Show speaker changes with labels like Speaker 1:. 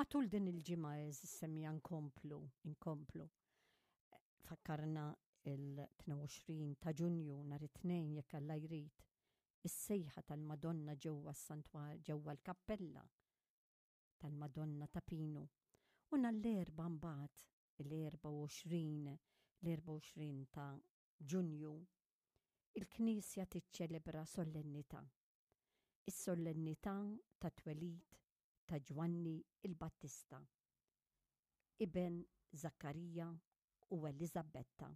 Speaker 1: Matul din il-ġimgħa għeżież semmiegħa nkomplu, inkomplu. Fakkarna il-22 ta' Ġunju nhar it-Tnejn jekk Alla jrid, is-sejħa tal-Madonna ġewwa s-santwar ġewwa l-kappella tal-Madonna ta' Pinu. U nhar l-Erbgħa mbagħad il-24 l-24 ta' Ġunju, il-Knisja tiċċelebra solennità. Is-solennità tat-twelid ta' Ġwanni l-Battista, iben Żakkarija u Eliżabetta.